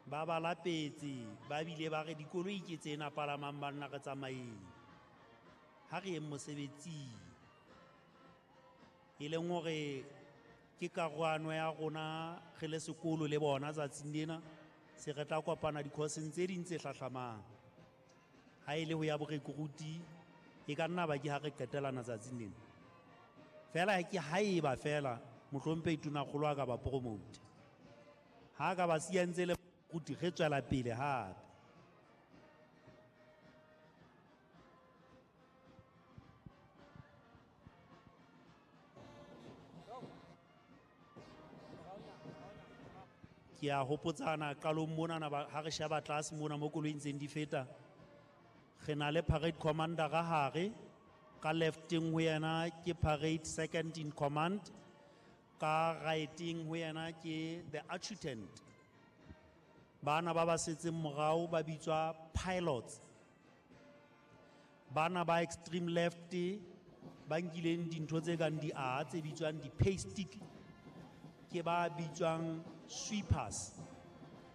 Ba ba lapetse, ba bile ba re dikoloi ke tsena palamang banna re tsamaeng. Ha re yeng mosebetsing. E leng hore ke karohano ya rona re le sekolo le bona tsatsing lena, se re tla kopana di-course-eng tse ding tse hlahlamang. Ha e le ho ya borekruti, e ka nna ba ke ha re qetelana tsatsing lena. Fela ke haeba fela mohlomphehi Tonakgolo a ka ba promote. Ha ka ba siya ntse le ruti re tswela pele hape. Ke a hopotsana qalong monana ha re sheba tlase mona mo koloing ntseng di feta, re na le parade commander ka hare, ka lefteng ho yena ke parade second in command, ka righteng ho yena ke the adjutant. Bana ba ba setseng morao ba bitswa pilots. Bana ba extreme left ba nkileng dintho tse kang di-A tse bitswang di-pay stick ke ba bitswang sweepers.